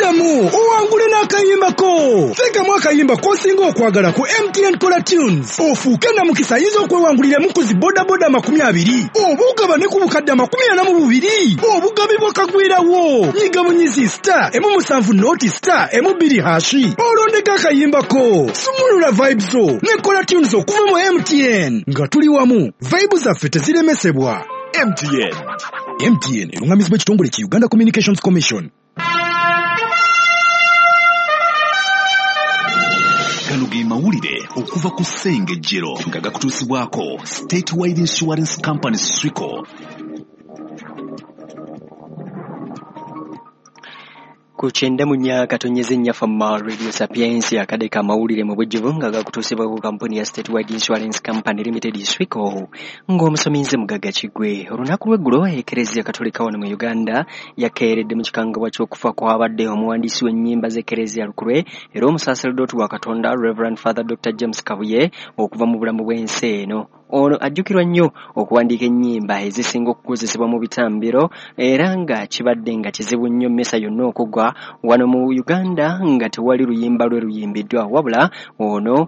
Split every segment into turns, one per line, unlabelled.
Ddamu owangule n'akayimbako. Teekamu akayimba k'osinga okwagala ku MTN Kola Tunes, ofuuke namukisa ayinza okwewanguliramu ku zi bodaboda 20 oba ogabane ku bukadde 42 obugabi bwakagwirawo. Nyiga bunyizi *170*12# olondeko akayimbako. Sumulula vibes zo ne Kola Tunes okuva mu MTN. Nga tuli wamu, vibe zaffe teziremesebwa. MTN. MTN erungamizibwa ekitongole ki Uganda Communications Commission.
Gano ge mawulire okuva ku Ssengejjero nga gakutuusibwako Statewide Insurance Company SWICO.
Ku 94.4 Fama Radio Sapiensia akadde k'amawulire mu bujjuvu nga gakutuusibwa ku kampuni ya Statewide Insurance Company Limited SWICO, ng'omusomi nze Mugagga Kiggwe. Olunaku lw'eggulo Ekereziya Katolika wano mu Uganda yakeeredde mu kikangabwa ky'okufa kw'abadde omuwandiisi w'ennyimba z'Ekereziya Lukulwe era omusaserdooti wa Katonda Reverend Father Dr. James Kabuye okuva mu bulamu bw'ensi eno. Ono ajjukirwa nnyo okuwandiika ennyimba ezisinga okukozesebwa mu bitambiro era nga kibadde nga kizibu nnyo mmisa yonna okugwa wano mu Uganda nga tewali luyimba lwe luyimbiddwa, wabula ono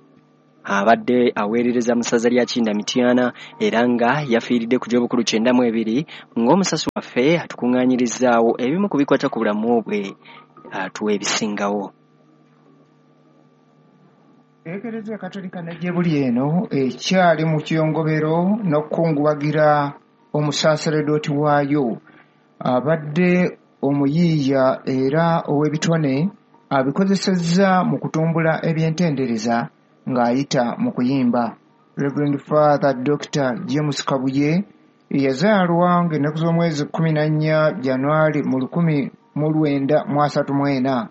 abadde aweerereza mu ssaza lya Kinda Mityana era nga yafiiridde ku gy'obukulu 92 ng'omusasi waffe atukuŋŋaanyirizzaawo ebimu ku bikwata ku bulamu bwe atuwa ebisingawo.
Ekereziya Katolika ne gye buli eno ekyali mu kiyongobero n'okukungubagira omusaseredooti waayo abadde omuyiiya era ow'ebitone abikozesezza mu kutumbula ebyentendereza ng'ayita mu kuyimba. Reverend Father Dr. James Kabuye yazaalwa ng'ennaku z'omwezi 14 Januari mu 1934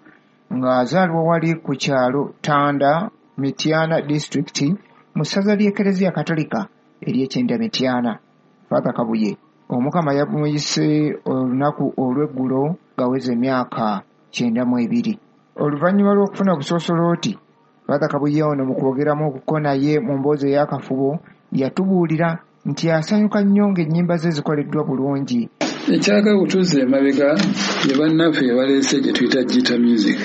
ng'azaalibwa wali ku kyalo Tanda, Mityana District mu ssaza ly'Ekereziya Katolika ery'Ekyenda Mityana. Father Kabuye Omukama yamuyise olunaku olw'eggulo ng'aweza emyaka 92. Oluvannyuma lw'okufuna obusoosolooti, Father Kabuye ono mu kwogeramu okuko naye mu mboozi ey'akafubo yatubuulira nti asanyuka nnyo ng'ennyimba ze zikoleddwa bulungi.
Ekyagala okutuusa emabega ye bannaffe baleese gye tuyita guitar music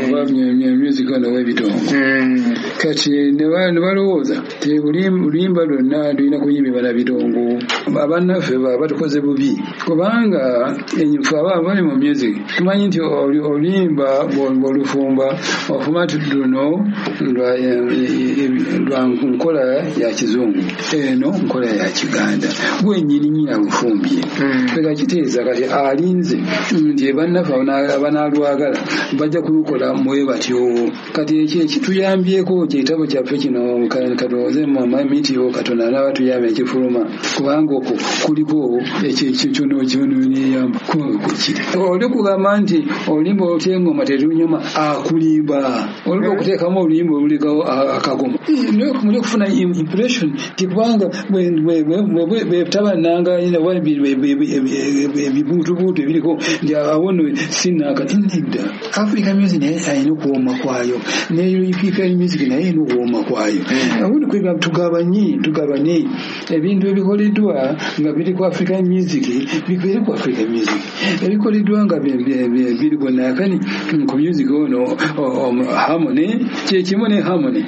oba music ono ow'ebitongo. Kati ne balowooza nti oluyimba lwonna lulina kuyimbibwa na bitongo. Abannaffe batukoze bubi kubanga ffe abali mu music tumanyi nti oluyimba bw'olufumba ofuma nti luno lwa nkola ya kizungu, eno nkola ya Kiganda, gwe nnyini nnyini alufumbye. Kiteeza kati alinze nti bannaffe abanaalwagala bajja kulukola mwe batyo. Kati ekyo ekituyambyeko kyekitabo kyaffe kino katulowooze mitiyo Katonda anaaba tuyambe ekifuluma, kubanga okwo kuliko ekyo kyoneyamba kukiri. Oli kugamba nti oluyimba olutya engoma terunyuma, akulimba. Oluyimba okuteekamu oluyimba olulekawo akagoma muli okufuna impression nti kubanga bwetaba nanga ebibuutubuutu ebiriko nti awo nno sinnaaka nedda. Africa music naye alina okuwooma kwayo, ne European music naye alina okuwooma kwayo. Awundi kwega tugabanye ebintu ebikoleddwa nga biri ku African music bibeere ku African music, ebikoleddwa nga biri ku naakani ku music ono harmony kyekimu ne harmony.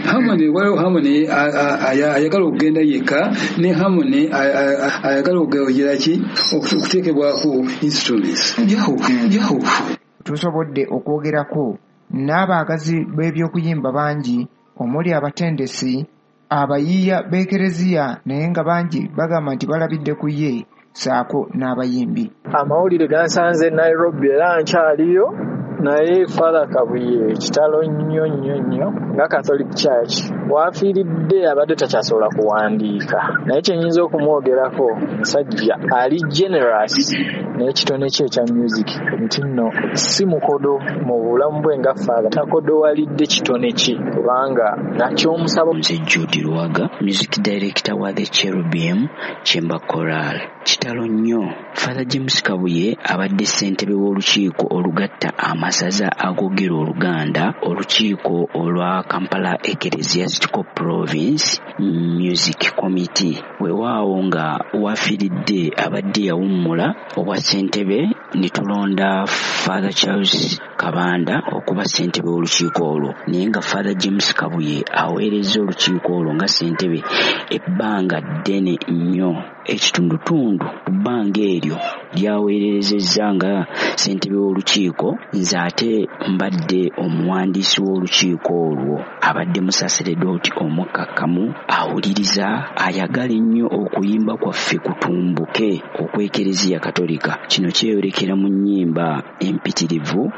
Waliwo harmony ayagala okugenda yekka ne harmony ayagala okugira ki okuteekebwako instruments byawufu.
Tusobodde okwogerako n'abaagazi b'ebyokuyimba bangi omuli abatendesi, abayiiya b'Ekereziya naye nga bangi bagamba nti balabidde ku ye ssaako n'abayimbi.
Amawulire gansanze Nairobi era nkyaliyo, naye Father Kabuye kitalo nnyo nnyo nnyo nga Catholic Church wafiiridde abadde takyasobola kuwandiika, naye kyenyinza okumwogerako musajja ali generous n'ekitone kye ekya music nti nno si mukodo mu bulamu bwe nga Father takodowalidde kitone kye kubanga nakyomusaba.
Nze Jude Lwaga, music director wa The Cherubim Chamber Choral. Kitalo nnyo. Father James Kabuye abadde ssentebe w'olukiiko olugatta amasaza agoogera Oluganda, olukiiko olwa Kampala Ecclesiastical Ecclesiastical Province Music Committee. Weewaawo nga wafiiridde abadde yawummula obwa ssentebe ne tulonda Father Charles Kabanda okuba ssentebe w'olukiiko olwo, naye nga Father James Kabuye aweerezza olukiiko olwo nga ssentebe ebbanga ddene nnyo. Ekitundutundu ku bbanga eryo lyaweerezezza nga ssentebe w'olukiiko, nze ate mbadde omuwandiisi w'olukiiko olwo. Abadde musaseredooti omukkakkamu, awuliriza, ayagala ennyo okuyimba kwaffe kutumbuke okw'Ekereziya Katolika. Kino kyeyolekera mu nnyimba empitirivu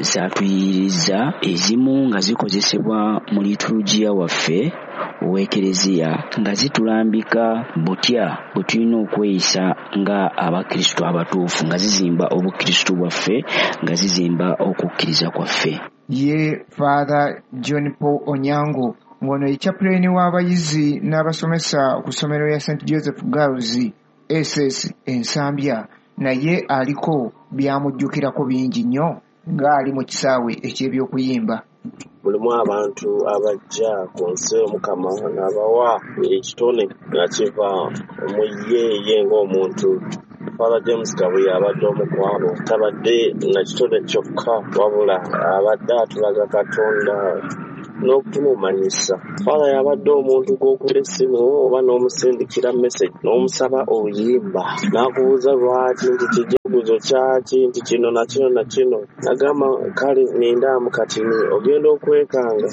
zaatuyiyiriza, ezimu nga zikozesebwa mu liturujia waffe ow'Ekereziya, nga zitulambika butya bwe tulina okweyisa nga Abakristu abatuufu, nga zizimba Obukristu bwaffe, nga zizimba okukkiriza kwaffe.
Ye Father John Paul Onyango, ng'ono ye chaplain w'abayizi n'abasomesa ku ssomero lya St Joseph Girls SS Ensambya, naye aliko byamujjukirako bingi nnyo ng'ali mu kisaawe eky'ebyokuyimba.
Mulimu abantu abajja ku nsi Omukama n'abawa ekitone nga kiva mu ye ye ng'omuntu. Father James Kabuye abadde omu ku abo, tabadde na kitone kyokka wabula abadde atulaga Katonda n'okutumumanyisa. Father yabadde omuntu gw'okubira essimu oba n'omusindikira message n'omusaba oluyimba n'akubuuza lwaki, nti kijaguzo kyaki, nti kino na kino na kino. Nagamba kale nindaamu katini, ogenda okwekanga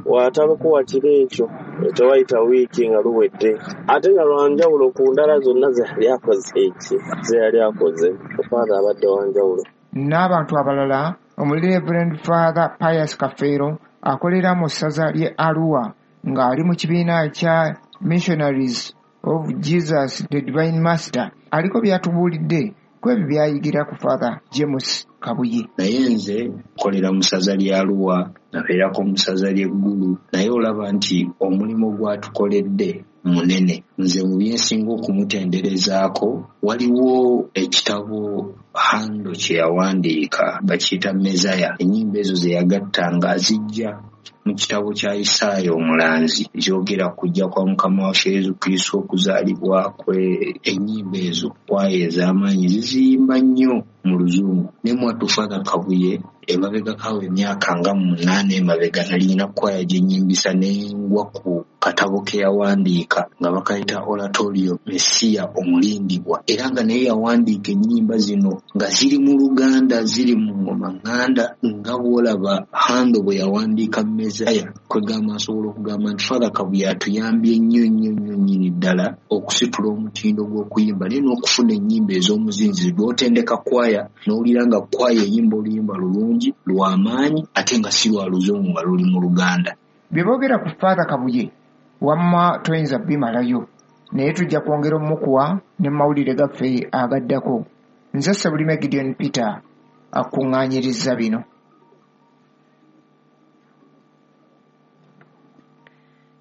watalukuwa kiro ekyo tewayita wiiki nga luwedde, ate nga lwanjawulo ku ndala zonna ze yali akoze eki ze yali akoze. Father abadde wanjawulo.
N'abantu abalala omuli Reverend Father Pius Kafeero akolera mu ssaza ly'e Arua ng'ali mu kibiina kya Missionaries of Jesus the Divine Master, aliko by'atubuulidde ku ebyo by'ayigira ku Father James Kabuye.
Naye nze nkolera mu ssaza lya Arua, nabeerako mu ssaza ly'Eggulu, naye olaba nti omulimu gw'atukoledde munene. Nze mu byensinga okumutenderezaako waliwo ekitabo Hando kye yawandiika bakiyita Mezaya. Ennyimba ezo ze yagattanga azijja mu kitabo kya Isaaya omulanzi, kyogera kujja kwa Mukama waffe Yesu Kristo, okuzaalibwa kwe. Ennyimba ezo kwaya ez'amaanyi ziziyimba nnyo mu Luzungu. Ne mwattu Father Kabuye emabegako emyaka nga 8 emabega nalina kwaya gye nnyimbisa ne ngwa ku katabo ke yawandiika nga bakayita Oratorio Messiah Omulindibwa, era nga naye yawandiika ennyimba zino nga ziri mu Luganda, ziri mu ngoma ŋŋanda, nga bw'olaba Hando bwe yawandiika Mezaya. Kwegamba nsobola okugamba nti Father Kabuye atuyambye nnyo nnyo nnyo nnyini ddala okusitula omutindo gw'okuyimba, naye n'okufuna ennyimba ez'omuzinzi lw'otendeka kwaya n'owulira nga kwaya eyimba oluyimba lulungi lw'amaanyi ate nga si lwa Luzungu nga luli mu Luganda.
Bye boogera ku Father Kabuye wamma toyinza bimalayo, naye tujja kwongera omukuwa ne mawulire gaffe agaddako. Nze Ssebulime Gideon Peter akuŋŋaanyirizza bino.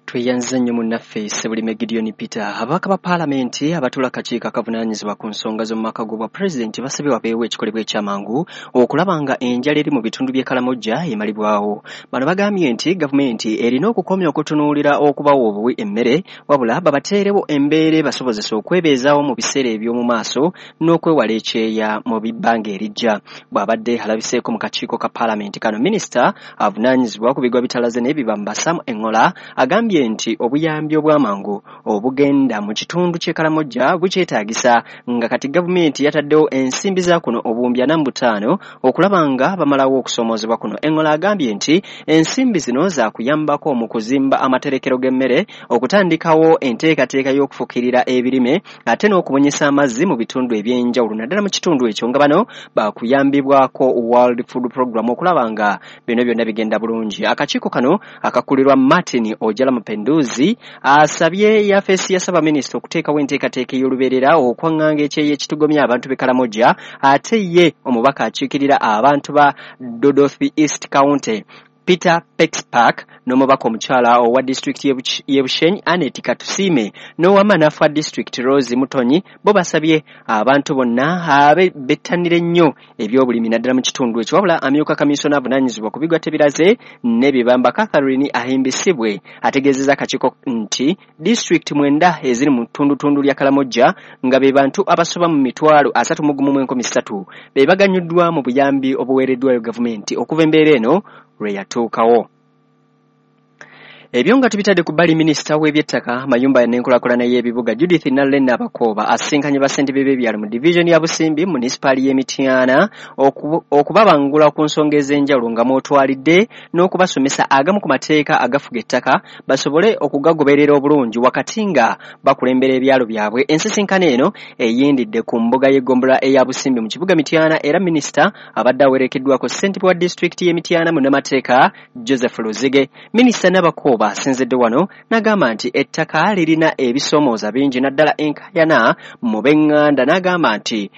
Tweyanze nnyo munnaffe Ssebulime Gideon Peter. Ababaka ba paalamenti abatuula akakiiko akavunaanyizibwa ku nsonga z'omu maka g'obwa pulezidenti basabye wabeewo ekikolebwa ekyamangu okulaba nga enjala eri mu bitundu by'e Karamoja emalibwawo. Bano bagambye nti gavumenti erina okukomya okutunuulira okubawa obuwi emmere, wabula babateerewo embeera ebasobozesa okwebeezaawo mu biseera eby'omu maaso n'okwewala ekyeya mu bbanga erijja. Bw'abadde alabiseeko mu kakiiko ka paalamenti kano, minisita avunaanyizibwa ku bigwa bitalaze n'ebibamba Sam Engola agambye nti obuyambi obw'amangu obugenda mu kitundu ky'e Karamoja bukyetaagisa, nga kati gavumenti yataddewo ensimbi za kuno obuwumbi 45 okulaba nga bamalawo okusoomoozebwa kuno. Engola agambye nti ensimbi zino zaakuyambako mu kuzimba amaterekero g'emmere, okutandikawo enteekateeka y'okufukirira ebirime, ate n'okubunyisa amazzi mu bitundu eby'enjawulo naddala mu kitundu ekyo, nga bano bakuyambibwako World Food Program okulaba nga bino byonna bigenda bulungi. Akakiiko kano akakulirwa Martin Ojala Mapenduzi asabye yafeesi ya ssaabaminisita okuteekawo enteekateeka ey'olubeerera okwaŋŋanga ekyeyo ekitugomya abantu b'e Karamoja, ate ye omubaka akiikirira abantu ba Dodothi East County Peter Pexpark n'omubaka omukyala owa disitulikiti y'e Bushenyi Annet Katusiime n'owa Manafwa District Rose Mutonyi bo basabye abantu bonna abe bettanire nnyo ebyobulimi naddala mu kitundu ekyo. Wabula amyuka kaminsona avunaanyizibwa ku bigwa tebiraze n'ebibamba Catherine Ahimbisibwe ategeezezza akakiiko nti disitulikiti 9 eziri mu ttundutundu lya Kalamojja nga be bantu abasoba mu 31,300 be baganyuddwa mu buyambi obuweereddwayo gavumenti okuva embeera eno lwe yatuukawo. Ebyo nga tubitadde ku bbali, minisita w'ebyettaka, amayumba n'enkulaakulana y'ebibuga Judith Nallen Nabakooba asisinkanye bassentebe b'ebyalo mu divizoni ya Busimbi munisipaali y'e Mityana okubabangula ku nsonga ez'enjawulo nga mw'otwalidde n'okubasomesa agamu ku mateeka agafuga ettaka basobole okugagoberera obulungi wakati nga bakulembera ebyalo byabwe. Ensisinkano eno eyindidde ku mbuga y'eggombolola eya Busimbi mu kibuga Mityana era minisita abadde awerekeddwako ssentebe wa disitulikiti y'e Mityana munnamateeka Joseph Luzige. Minisita Nabakooba asinzidde wano n'agamba nti ettaka lirina ebisoomooza bingi naddala enkaayana mu b'eŋŋanda, n'agamba nti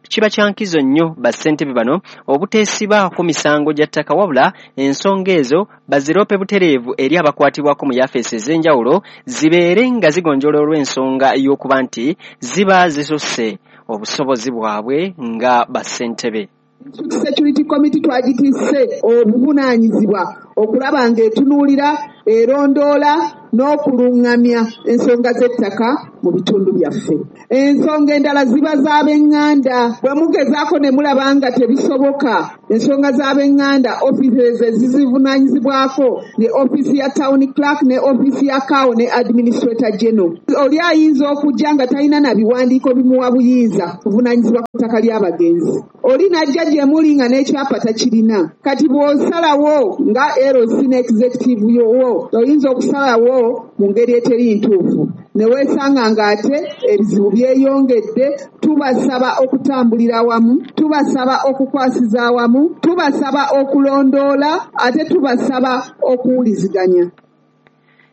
kiba kya nkizo nnyo bassentebe bano obuteesibaako misango gya ttaka wabula ensonga ezo baziroope butereevu eri abakwatibwako mu yafeesi ez'enjawulo zibeere nga zigonjoola olw'ensonga y'okuba nti ziba zisusse obusobozi bwabwe nga bassentebe.
Security Committee twagitisse obuvunaanyizibwa okulaba ng'etunuulira, erondoola n'okulungamya ensonga z'ettaka mu bitundu byaffe. Ensonga endala ziba z'ab'eŋŋanda. Bwe mugezaako ne mulaba nga tebisoboka, ensonga z'ab'eŋŋanda offices ezizivunaanyizibwako ne ofiisi ya town clerk ne ofiisi ya CAO ne administrator general. Oli ayinza okujja nga talina na biwandiiko bimuwa buyinza kuvunaanyizibwa ku ttaka ly'abagenzi. Oli n'ajja gye muli nga n'ekyapa takirina. Kati bw'osalawo nga LC ne executive yowo, oyinza okusalawo mu ngeri eteri ntuufu ne weesanga ng'ate ebizibu byeyongedde. Tubasaba okutambulira awamu, tubasaba okukwasiza awamu, tubasaba okulondoola, ate tubasaba okuwuliziganya.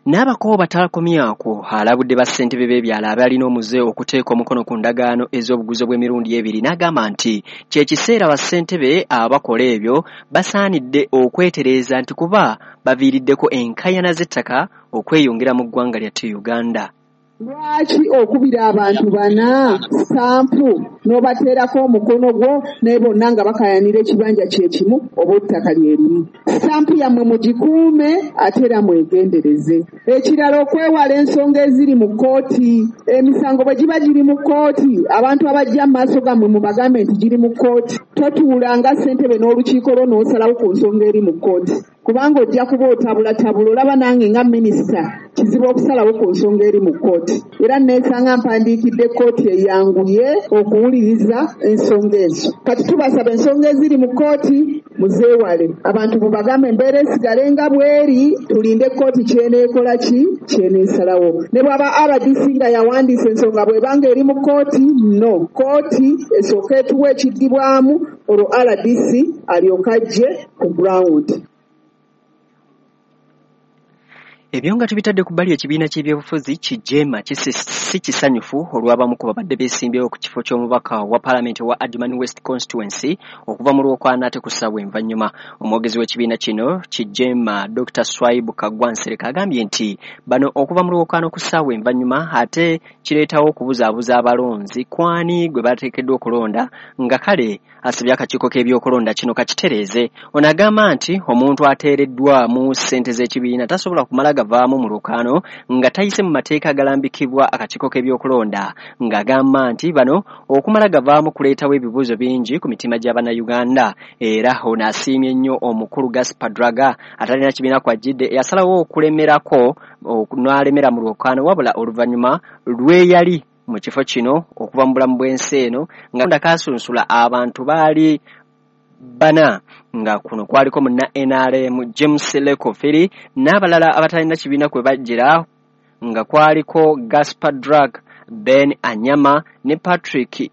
Nabakooba takomyako alabudde bassentebe b'ebyalo abalina omuze okuteeka omukono ku ndagaano ez'obuguzi bw'emirundi ebiri, n'agamba nti kye kiseera bassentebe abakola ebyo basaanidde okwetereeza nti kuba baviiriddeko enkaayana z'ettaka okweyongera mu ggwanga lyattu Uganda.
Lwaki okubira abantu bana stampu n'obateerako omukono gwo naye bonna nga bakayanira ekibanja kye kimu oba ettaka lye limu? Stampu yammwe mugikuume ate era mwegendereze. Ekirala, okwewala ensonga eziri mu kkooti. Emisango bwe giba giri mu kkooti, abantu abajja mu maaso gammwe mubagambe nti giri mu kkooti. Totuula nga ssentebe n'olukiiko lwo n'osalawo ku nsonga eri mu kkooti, kubanga ojja kuba otabulatabula. Olaba nange nga minisita kizibu okusalawo ku nsonga eri mu kkooti, era neesanga mpandiikidde kkooti eyanguye okuwuliriza ensonga ezo. Kati tubasaba ensonga eziri mu kkooti muzeewale, abantu mubagambe embeera esigale nga bw'eri, tulinde kkooti kyeneekola ki kyeneesalawo. Ne bw'aba RDC nga yawandiisa ensonga bw'ebanga eri mu kkooti, no kkooti esooka etuwa ekiddibwamu, olwo RDC alyoke ajje ku ground.
Ebyo nga tubitadde ku bbali, ekibiina ky'ebyobufuzi kijeema si kisanyufu olw'abamu ku babadde beesimbyewo ku kifo ky'omubaka wa paalamenti owa Adjumani West Constituency okuva mu Lwokwana ate ku ssaawa envannyuma. Omwogezi w'ekibiina kino kijeema Dr. Swaibu Kaggwa Nsereko agambye nti bano okuva mu Lwokwana ku ssaawa envannyuma ate kireetawo okubuzaabuza abalonzi kwani gwe bateekeddwa okulonda, nga kale asabye akakiiko k'ebyokulonda kino kakitereeze. Ono agamba nti omuntu ateereddwamu ssente z'ekibiina tasobola kumala gavaamu mu lwokaano nga tayise mu mateeka agalambikibwa akakiiko k'ebyokulonda, ng'agamba nti bano okumala gavaamu kuleetawo ebibuuzo bingi ku mitima gy'Abannayuganda. Era ono asiimye nnyo omukulu Gaspar Draga atalina kibiina kw'ajjidde eyasalawo okulemerako n'alemera mu lwokaano, wabula oluvannyuma lwe yali mu kifo kino okuva mu bulamu bw'ensi eno nga ndakasunsula abantu baali bana, nga kuno kwaliko munna NRM James Lekofiri n'abalala abatalina kibiina kwe bajjira, nga kwaliko Gaspar Drag, Ben Anyama ne Patrick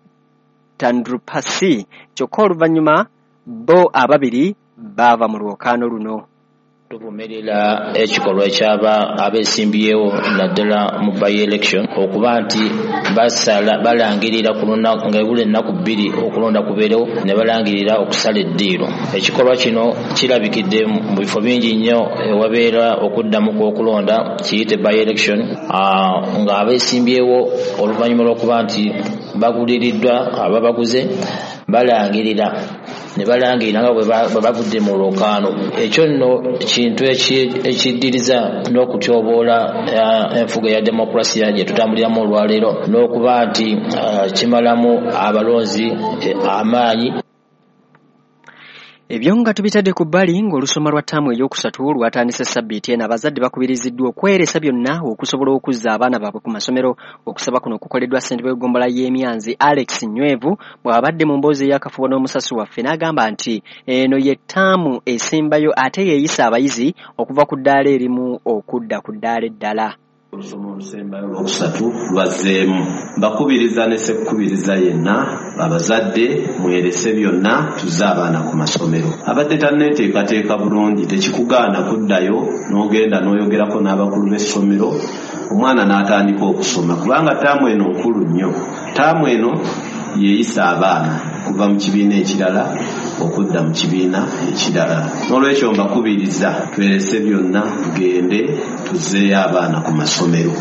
Tandrupasi. Kyokka oluvannyuma bo ababiri baava mu lwokaano luno.
Tuvumirira ekikolwa ekyaba abeesimbyewo naddala mu by-election okuba nti balangirira ku lunaku nga ebula ennaku 2 okulonda kubeerewo ne balangirira okusala eddiiro. Ekikolwa kino kirabikidde mu bifo bingi nnyo ewabeera okuddamu kw'okulonda kiyite by-election, nga abeesimbyewo oluvannyuma lw'okuba nti baguliriddwa ababaguze balangirira ne balangirira nga bwe bavudde mu lwokaano. Ekyo nno kintu ekiddiriza n'okutyoboola enfuga ya demokulasiya gye tutambuliramu olwaleero, n'okuba nti kimalamu abalonzi amaanyi.
Ebyo nga tubitadde ku bbali, ng'olusoma lwa ttaamu ey'okusatu lwatandise sabbiiti eno, abazadde bakubiriziddwa okweresa byonna okusobola okuzza abaana baabwe ku masomero. Okusaba kuno kukoleddwa ssentebe w'eggombolola y'Emyanzi Alex Nywevu bw'abadde mu mboozi ey'akafubo n'omusasi waffe, n'agamba nti eno ye ttaamu esembayo ate yeeyisa abayizi okuva ku ddaala erimu okudda ku ddaala eddala.
Olusoma olusembayo olwokusatu lwazzeemu. Mbakubiriza ne ssekukubiriza yenna, abazadde mwerese byonna tuzze abaana ku masomero. Abadde tanneeteekateeka bulungi tekikugaana kuddayo n'ogenda n'oyogerako n'abakulu b'essomero, omwana n'atandika okusoma, kubanga ttaamu eno nkulu nnyo. Ttaamu eno yeeyisa abaana kuva mu kibiina ekirala okudda mu kibiina ekirala. N'olwekyo mbakubiriza twerese byonna tugende tuzzeeyo abaana ku masomero.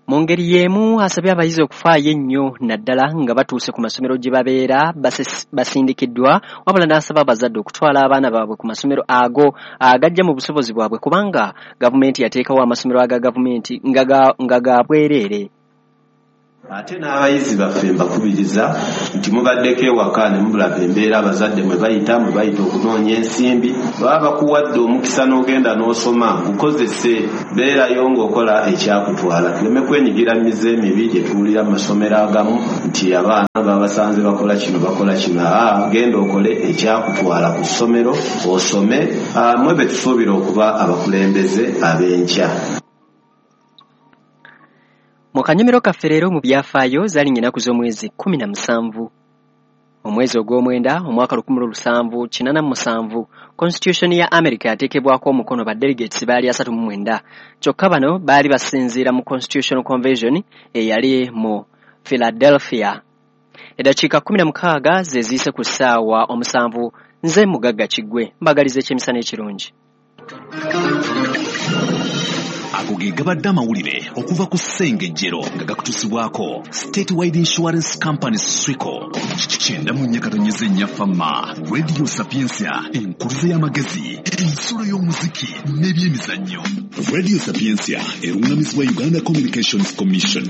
Mu ngeri y'emu asabye abayizi okufaayo ennyo naddala nga batuuse ku masomero gye babeera basindikiddwa, wabula n'asaba abazadde okutwala abaana baabwe ku masomero ago agajja mu busobozi bwabwe, kubanga gavumenti yateekawo amasomero aga gavumenti nga ga bwereere.
Ate n'abayizi baffe mbakubiriza nti mubaddeko ewaka ne mubulaba embeera abazadde mwe bayita okunoonya ensimbi, baba bakuwadde omukisa n'ogenda n'osoma, gukozese, beerayo ng'okola ekyakutwala. Tuleme kwenyigira mu mize emibi gye tuwulira mu masomero agamu nti abaana babasanze bakola kino bakola kino. Genda okole ekyakutwala ku ssomero osome, mwe be tusuubira okuba abakulembeze ab'enkya.
Mu kanyomero kaffe leero mu byafaayo zaali ennaku z'omwezi 17 omwezi ogw'omwenda omwaka 1787 Constitution ya America yateekebwako omukono ba delegates baali 39, kyokka bano baali basinziira mu Constitutional Convention eyali mu Philadelphia. Eddakiika 16 ze ziyise ku ssaawa 7. Nze Mugagga Kiggwe mbagaliza ekyemisana ekirungi.
Ago ge gabadde amawulire okuva ku Ssengejjero nga gakutuusibwako Statewide Insurance Company Swico. 94.4 Fama Radio Sapientia, enkuluze y'amagezi, ensulo y'omuziki n'ebyemizannyo. Radio Sapientia erungamizibwa Uganda Communications Commission.